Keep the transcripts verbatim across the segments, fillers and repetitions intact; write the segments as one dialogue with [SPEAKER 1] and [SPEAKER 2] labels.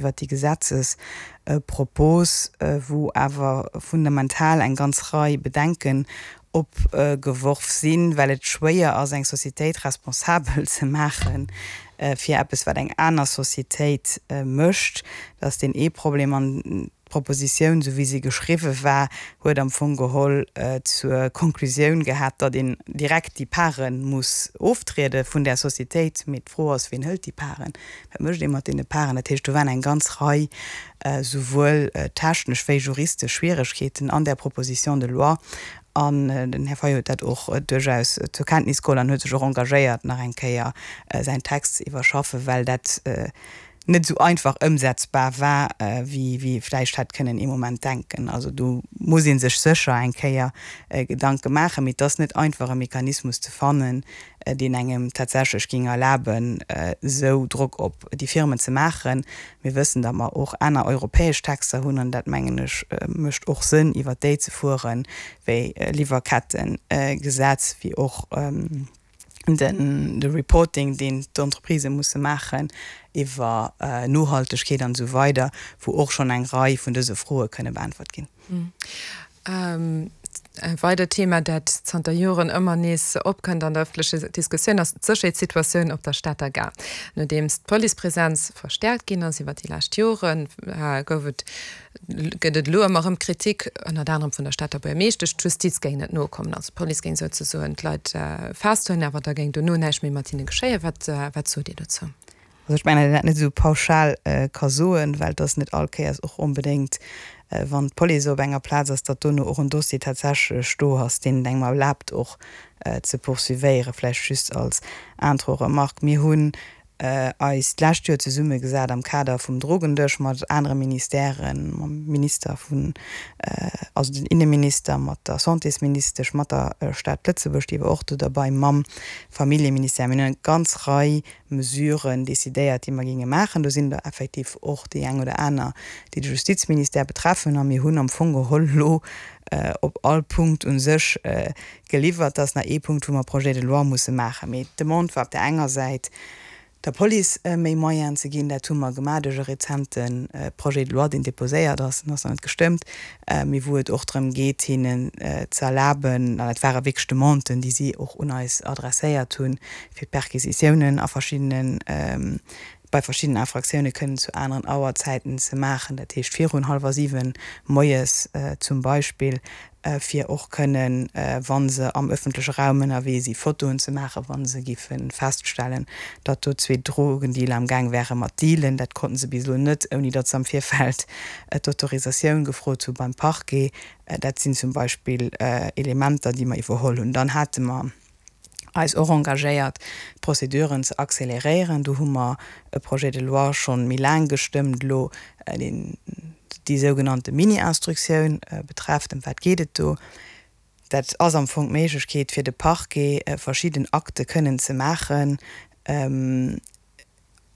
[SPEAKER 1] Iwwert déi Gesetzespropos, wou awer fundamental eng ganz Rei Bedenken opgeworf sinn, well et schwéier ass, eng Societéit responsabel ze maache fir eppes, wat eng aner Societéit mécht. Dat ass deen ee Problem. An d'Propositioun, esou wéi se geschriwwe war, huet am Fong geholl zur Konklusioun gehat, datt een direkt déi Pare muss oftriede vun där Societéit. Mee d'Fro ass, Wien hëlt déi Paren? Wat mécht ee mat deene Paren? Dat heescht, do waren eng ganz Rei souwuel technesch wéi juristesch Schwieregkeeten an där Proposition de loi. An den Här Fayot huet dat och duerchaus zur Kenntnis geholl an huet sech och engagéiert, nach eng Kéier säin Text ze iwwerschaffen, well dat net esou einfach ëmsetzbar war, wéi ee vläicht hätt kënnen ee Moment denken. Also do muss ee sech sécher eng Kéier Gedanke maachen, mee et ass net einfach e Mechanismus ze fannen, deen engem tatsächlech géing erlaben, esou Drock op déi Firmen ze maachen. Mir wëssen, datt mer och aner europäesch Texter hunn, an dat, mengen ech, mécht och Sënn, iwwert déi ze fueren, wéi Liwwerkettegesetz, wéi och den de Reporting, deen d'Entreprisë musse maachen iwwer Nohaltegkeet an esou weider, wou och schonn eng Rei vun dëse Froe kënne beäntwert ginn.
[SPEAKER 2] E weidert Thema, dat zanter Joren ëmmer nees opkënnt an der ëffentlecher Diskussioun, ass d'Sécherheetssituatioun op der Stater Gare. Nodeems d'Policepresenz verstäerkt ginn ass iwwer déi lescht Joren, gouf et, gëtt et elo ëmmer erëm Kritik, ënnert anerem vun der Stater Buergermeeschtesch, d'Justiz géing net nokommen. Also d'Police géing souzesoen d'Leit festhuelen, awer da géing dono näischt méi mat hinne geschéien. Wat, wat sot Dir dozou?
[SPEAKER 1] Also ech mengen, datt een dat net esou pauschal ka soen, well et ass net all Kéiers och onbedéngt, wann d'Police op enger Plaz ass, datt dono och en Dossier tatsächlech do ass, deen et engem erlaabt och ze poursuivéieren. Vläicht just als Intro-Remarque, Mir hunn eis d'lescht Joer zesummegesat am Kader vum Drogendësch mat anere Ministèren, mam Minister vun, also den Inneminister, mat der Santésministesch, mat der Stad Lëtzebuerg, déi war och do derbei, mam Familljeministère. Mir hunn eng ganz Rei Mesuren decidéiert, déi mer géinge maachen. Do sinn der effektiv och déi eng oder aner, déi de Justizministère betreffen. A mir hunn am Fong geholl elo op all Punkt u sech geliwwert. Dat ass nach ee Punkt, wou mer Projet de loi musse maachen. Mee d'Demande war op där enger Säit, der Police méi Moyenen ze ginn. Dat hu mer gemaach duerch e rezente Projet de loi, deen déposéiert ass, en ass nach net gestëmmt, mee wou et och drëm geet, hinnen ze erlaben, an dat ware wierklech Demanden, déi si och un eis adresséiert hunn, fir d'Perquisitiounen a verschiddenen, bei verschiddenen Infractioune kënnen zu aneren Auerzäiten ze maachen, dat heescht virun hallwer siwen moies zum Beispill, fir och kënnen, wa se am ëffentleche Raum ënnerwee si Fotoen ze maachen, wa se giffe feststellen, datt do zwee Drogendealer am Gaang wäre mat dealen. Dat konnten se bis elo net, ouni datt se am Virfeld d'Autorisatioun gefrot hu beim Parquet. Dat sinn zum Beispill Elementer, déi mer iwwerholl hunn. Dann hate mer eis och engagéiert, d'Prozeduren ze acceleréieren. Do hu mer e Projet de loi schonn méi laang gestëmmt elo, deen déi sougenannte Mini-Instruktioun betrefft. Ëm wat geet et do? Dat ass am Fong d'Méiglechkeet fir de Parquet, verschidden Akte kënnen ze maachen,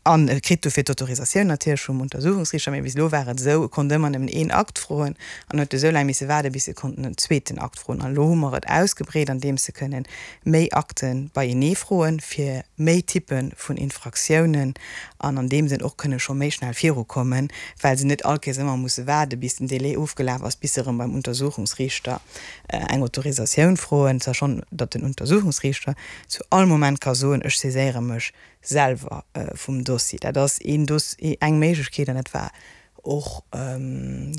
[SPEAKER 1] an e kritt dofir d'Autorisatioun natierlech vum Untersuchungsriichter. Mee bis elo war et esou, e konnt ëmmer nëmmen een Akt froen an huet esou laang misse waarden, bis e konnt en zweeten Akt froen. An elo hu mer et ausgebreet, andeems se kënnen méi Akte beienee froen, fir méi Typpe vun Infraktiounen, an an deem Sënn och kënne scho méi schnell virukommen, well se net all Kéiers ëmmer musse waarden, bis den Délai ofgelaf ass, bis se erëm beim Untersuchungsriichter eng Autorisatioun froen, sachant datt den Untersuchungsriichter zu all Moment ka soen, ech saiséiere mech selwer vum Dossier. Dat ass een Dossier, eng Méiglechkeet, an dat war och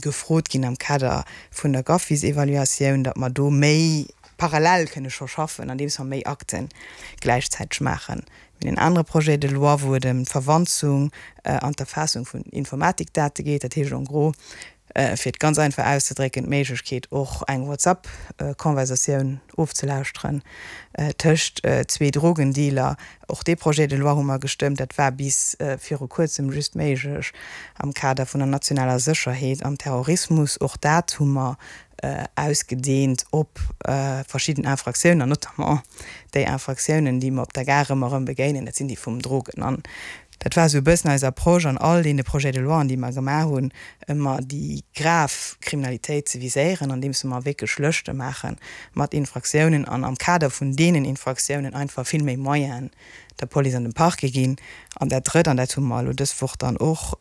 [SPEAKER 1] gefrot ginn am Kader vun der GAFIS-Evaluatioun, datt mer do méi parallel kënne scho schaffen, andeems mer méi Akte gläichzäiteg maachen. Mir hunn en anere Projet de loi, wou et ëm d'Verwanzung an d'Erfaassung vun Informatikdate geet, dat heescht en gros, fir et ganz einfach auszedrécken, d'Méiglechkeet och eng WhatsApp-Konversatioun ofzelauschteren tëscht zwee Drogendealer. Och dee Projet de loi hu mer gestëmmt. Dat war bis viru kuerzem just méiglech am Kader vun der nationaler Sécherheet am Terrorismus. Och dat hu mer ausgedeent op verschidden Infraktiounen, an notamment déi Infraktiounen, déi mer op der Gare ëmmer erëm begéinen, dat sinn déi vum Drogen. An dat war esou e bëssen eis Approche an all deene Projets de loien, déi mer gemaach hunn, ëmmer déi grav Kriminalitéit ze viséieren, andeems mer wierklech Lëschte maache mat Infraktiounen an am Kader vun deenen Infraktiounen einfach vill méi Moyenen der Police an dem Parquet ginn. An dat Drëtt, an dat hu mer elo dës Woch dann och